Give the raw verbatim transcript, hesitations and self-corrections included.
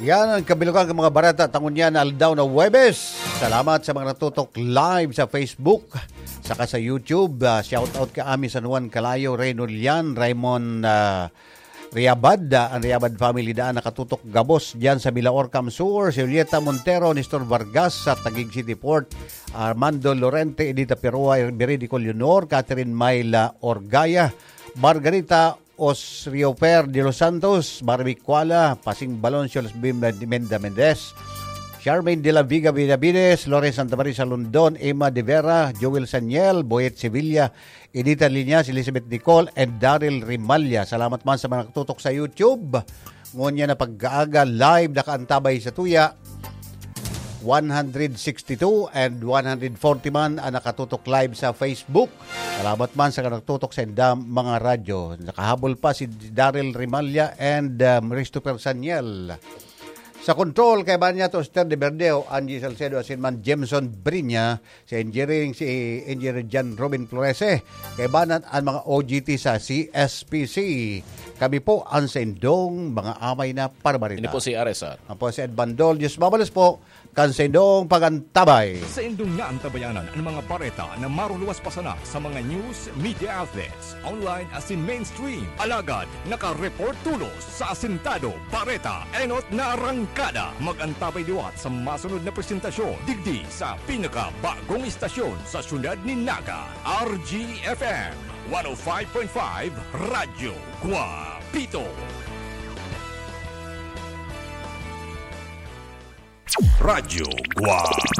Yan ang kabilugan ng mga bareta ta ngunyan na aldaw na Huwebes. Salamat sa mga natutok live sa Facebook, saka sa YouTube. Ah, shout out ka Ami San Juan Calayo, Reynold Lian, Raymond, ah, Riabad, ah, ang Riabad family daan nakatutok gabos diyan sa Milaor, Camsur, si Julieta Montero, Nestor Vargas sa Taguig City Port, Armando Lorente, Edita Perua, Beridico Leonor, Catherine Myla Orgaya, Margarita Osriofer de los Santos, Barbie Kuala, Pasing Baloncio, Luzbim Menda Mendez, Charmaine de la Vega Benavides, Lawrence Santa Maria Salundon, Emma de Vera, Joel Saniel, Boyet Sevilla, Edita Liñas, Elizabeth Nicole, and Daryl Rimalla. Salamat man sa mga nakatutok sa YouTube. Ngunyan na pagkaaga, live nakaantabay sa tuya. One hundred sixty-two and one hundred forty man ang nakatutok live sa Facebook. Salamat man sa nakatutok sa indang mga radyo. Nakahabol pa si Daryl Rimalla and, um, Christopher Saniel. Sa control, kaiba niya to, Esther de Verdeo, Angie Salcedo, asin man Jameson Brinya, sa engineering, si Engineer John Robin Florese, kaiba na an mga O G T sa C S P C. Kami po ang sa indong mga amay na parabarita. Ini po si R S R. Ako po si Ed Bandol. Diyos mabalos po, kan sa indong pagantabay. Sa indong naantabayanan ang mga bareta na maruluwas pa sana sa mga news media outlets, online asin mainstream. Alagad, naka-report tulos sa Asintado Bareta, enot na arangkada. Mag-antabay liwat sa masunod na presentasyon digdi sa pinakabagong istasyon sa siyudad nin Naga, R G F M one oh five point five Radyo Guapito. Radyo Guapito.